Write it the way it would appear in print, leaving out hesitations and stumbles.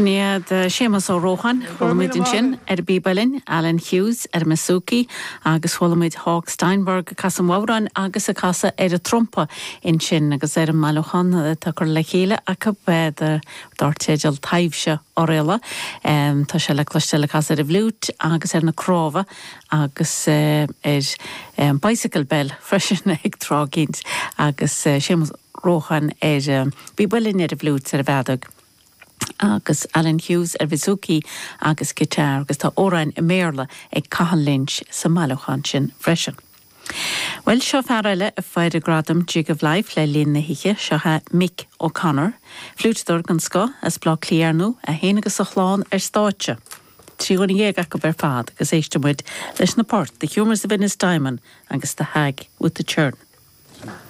Sin iad Séamus Ó Rócháin, chuala muid ansin ar an bpíb uilleann, Alan Hughes ar an mbouzouki agus chuala muid Hawk Steinberg ag casadh an bhodhráin agus ag casadh ar an trumpa ansin agus ar an mbailiúchán atá curtha le chéile acu dar teideal Taibhse Oirialla. Tá sé le cloisteáil ag casadh ar an bhfliúit agus ar na cnámha agus ar an bicycle bell freisin ag tráth eicínt agus Séamus Rócháin ar an bpíb uilleann, ar an bhfliúit, ar an bhfeadóg agus Alan Hughes ar bhouzouki agus guitar agus tá amhráin i mBéarla ag Cathal Lynch sa mbailiúchán sin freisin. Bhuel, seo fear eile a fuair gradam Jig of Life le linn na hoíche, seo é Mick O'Connor, fliúiteadóir den scoth as Baile Átha Cliath ar ndóigh, é féin agus a chlann ar stáitse. 13 dhuine acu ar fad agus éistfidh muid leis na poirt The Humours of Ennistymon agus The Hag with the Churn.